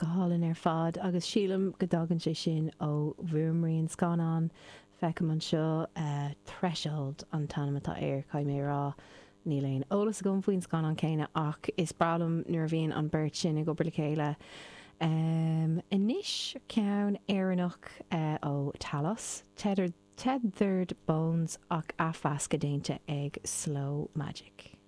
Go hálainn ar fad agus sílim go dtagann sé sin ó bhfuaimrian scannáin. Feicim anseo Threshold an t-ainm atá air, caithfidh mé a rá. Níl aon eolas agam faoin scannán céanna ach is breá liom nuair a bhíonn an beirt sin ag obair le chéile. Anois ceann Éireannach ó Talos, Tethered Bones ach athmheascadh déanta ag Slow Magic.